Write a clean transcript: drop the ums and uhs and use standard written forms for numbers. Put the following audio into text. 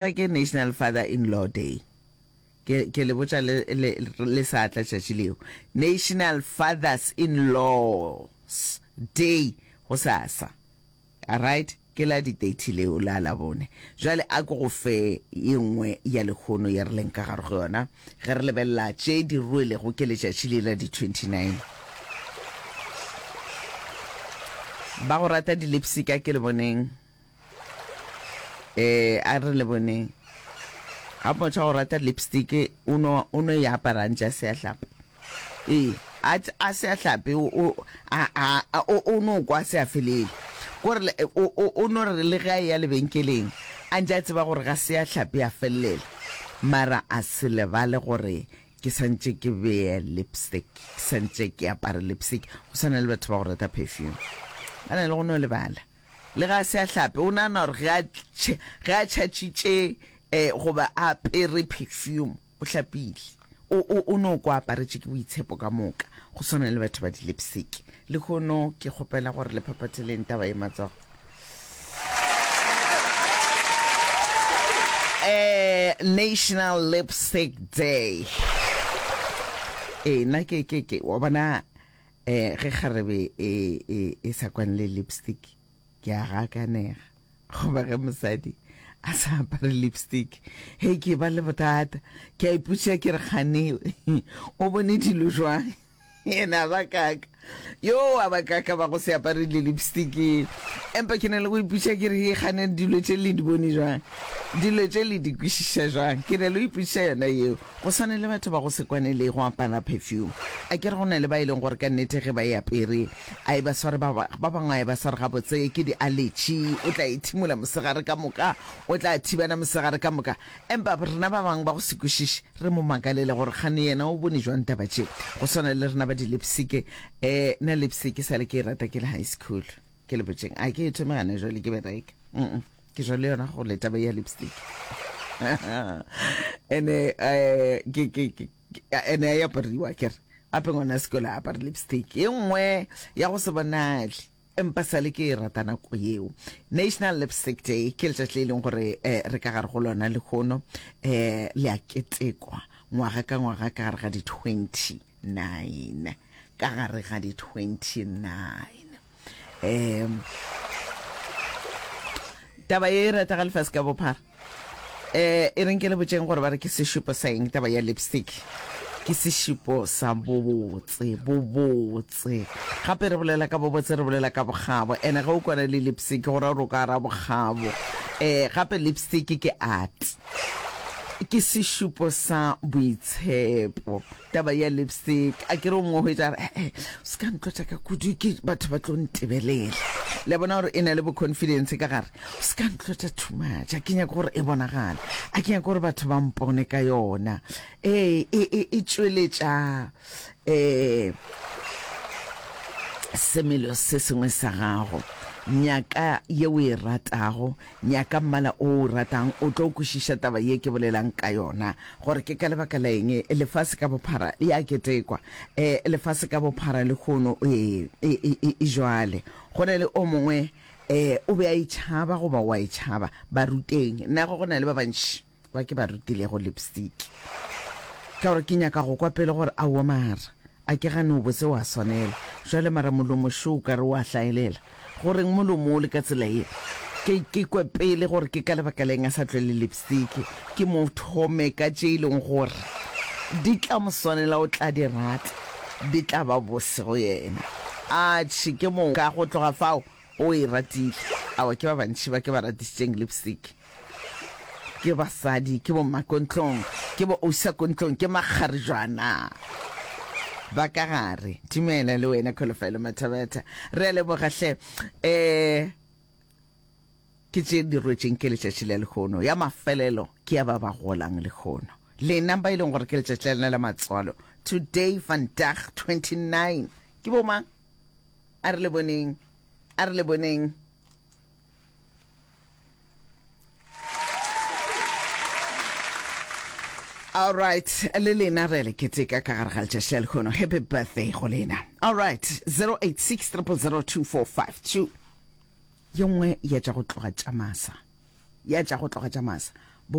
Ke National Father in Law Day. Ke, ke le botša le, le, le sa tla tšatši leo. National Fathers in Laws Day gosasa. Alright, ke la di 30 leo la Labone. Jwale a ke go fe ye nngwe ya lehono ye re leng ka gare go yona ge re lebelela tše di rwelego ke letšatši le la di 29. Ba go rata di-lipstick a ke le boneng. Eh, a re le boneng. Ga motho a go rata lipstick, o no o no e apara ntše a se a hlapa. Ee, a a se a hlape o o a a o o no kwa se a felele. Kore le o o o no re le ge a eya lebenkeleng a ntše a tseba gore ga se a hlape a felelela. Mara a se lebale gore ke santše ke beye lipstick, ke santše ke apare lipstick. Go swana le batho ba go rata perfume. Ba na le go no lebala. Le ge a se a hlape, o nagana gore ge a, ge a tšhatšitše eh, goba a apere perfume, o hlapile. O, o, o no kwa aparetše ke boitshepo ka moka, go swana le batho ba di-lipstick. Lehono ke kgopela gore le phaphatheleng taba ye matsogo. Eh, National Lipstick Day. Ee, nna ke, ke, ke, wa bona, Eh, ge kgarebe e, e, e sa kwane le lipstick, ke a gakanega. Goba ge mosadi a sa apare lipstick, hei, ke ba le bothata. Ke a ipotšiša ke re, Kgane o bone dilo jwang? Yena a ba kaka. Yo, a ba kaka ba go se apare le lipstick. Empa ke na le go ipotšiša ke re, Hei, kgane dilo tše le di bone jwang? Dilo tše le di kwešiša jwang? Ke na le go ipotšiša yona yeo. Go swana le batho ba go se kwane le go apara perfume. A ke re go na le ba e leng gore ka nnete ge ba e apere a e ba sware ba ba bangwe a e ba sware gabotse ke di allergy, o tla e thimola mosegare ka moka, o tla thibana mosegare ka moka. Empa rena ba bangwe ba go se kwešiše re mo makalele gore kgane yena o bone jwang taba tše. Go swana le rena ba di lipstick, eh nna lipstick e sale ke e rata ke le high school. Ke le botšeng a ke e thome gana jwale ke bereka. Mm. Ke jwa le yona go le taba ya lipstick. Ene eh ke ke ke ene ya apariwa ke re ape ngwana sekolo a apare lipstick e nngwe ya go se bonale empa sale ke e rata nako yeo. National Lipstick Day ke letšatši le e leng gore eh, re ka gare go lona lehono eh, le a ketekwa ngwaga ka ngwaga ka gare ga di 29 ka gare ga di 29 um taba ye e rata ga lefase ka bophara um e reng ke le botšeng gore ba re ke sešupo sa eng taba ya lipstick ke sešupo sa bobotse bobotse gape re bolela ka bobotse re bolela ka bokgabo ene ge o kwana le lipstick go ra gore o ka ra bokgabo um gape lipstick ke art ke sešupo sa boitshepo Taba ya lipstick, a ke re o mongwe o hwetša a re, eh, o se ka ntlotša ka kudu, ke batho ba tlo ntebelela. Le a bona gore e na le bo confidence ka gare. O se ka ntlotša too much, a ke nyake gore e bonagale, a ke nyake gore batho ba mpone ka yona. Ee, e, e, e tšweletša eh, semelo se sengwe sa gago. Nyaka ye o e ratago, Nyaka mmala o o ratang, o tlo kwešiša taba ye ke bolelang ka yona, gore ke ka lebaka la eng lefase ka bophara le a ketekwa. E, lefase ka bophara lehono, e, e, e, e, e jwale. Go na le o mongwe, e, o be a e tšhaba goba o a e tšhaba. Ba ruteng. Nna go na le ba bantši ba ke ba rutilego lipstick. Ka gore ke nyaka go kwa pele gore aowa mara a ke gane o botse wa swanela. Jwale mara molomo šo o ka re o a hlaelela. Go reng molomo o le ka tsela ye? Ke, ke kwe pele gore ke ka lebaka la eng a sa tlwele lipstick. Ke mo thome ka tše e leng gore di tla mo swanela o tla di rata, di tla ba bose go yena. Atšhe, ke moka go tloga fao o e ratile. Aowa, ke ba bantši ba ke ba ratišitšeng lipstick. Ke basadi, ke bo mmakontlong, ke bo ausakontlong, ke makgarejwana ba ka gare. Dumela le wena Kholofelo Mathabetha. Re a leboga hle. Eh ke tše di rwetšeng ke letšatši la lehono. Ya mafelelo ke ya ba ba golang lehono. Lena ba e leng gore ke letšatši la lena la matswalo. Today vandag 29. Ke bo mang? A re le boneng. A re le boneng. All right, le lena re le keteka ka gare ga letšatši la lehono. Happy birthday go lena. All right, 086 0002452. Ye nngwe ya tša go tloga tša masa. Ya tša go tloga tša masa.